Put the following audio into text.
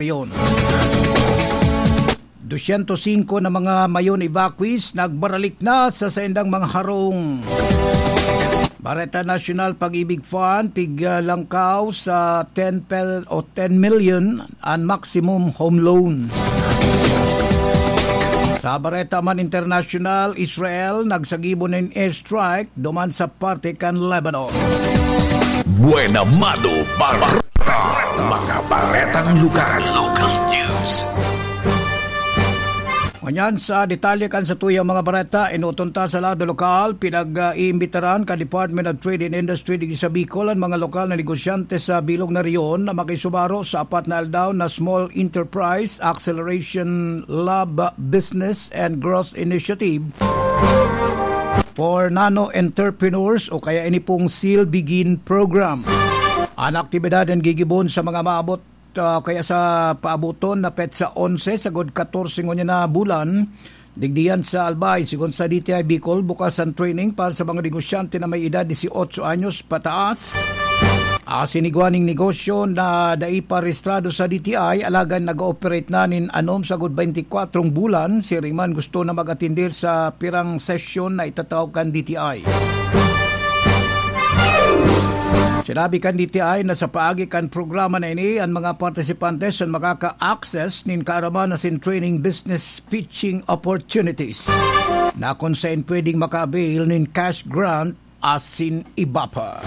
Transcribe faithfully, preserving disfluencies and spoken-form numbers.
Yon. Dosyentos singko na mga Mayon evacuees nagbaralik na sa saindang mga harong. Bareta National, Pag-ibig Fund, pig, ah, langkaw sa ten pel-, o ten million an maximum home loan. Sa Bareta man International, Israel nagsagibo nin airstrike duman sa parte kan Lebanon. Buena Mano Bareta. Mga baretang lugar. Local news. Ngunyan sa detalye kan satuyang mga bareta, inuton ta sa lado lokal, pinag-iimbitaran kan Department of Trade and Industry digdi sa Bicol an mga lokal na negosyante sa bilog na rehiyon na makisubaro sa apat na aldaw na Small Enterprise Acceleration Lab Business and Growth Initiative for Nano Entrepreneurs o kaya ini pong Seal Begin Program. An aktibidad an gigibon sa mga maabot, ah, kaya sa paaboton na petsa onse sagod katorse ngunyan na bulan, digdiyan sa Albay. Sigon sa D T I Bicol, bukas ang training para sa mga negosyante na may edad dieciocho anyos pataas. Asin igwa ning negosyo na dai pa rehistrado sa D T I, alagad nag-ooperate na nin anom sagod baintikwatrong bulan, siring man gusto na mag-atender sa pirang sesyon na itatao kan D T I. Sinabi kan D T I na sa paagi kan programa na ini, an mga partisipantes an makaka-access nin kaaraman asin training business pitching opportunities na kun saen pwedeng maka-avail nin cash grant asin iba pa.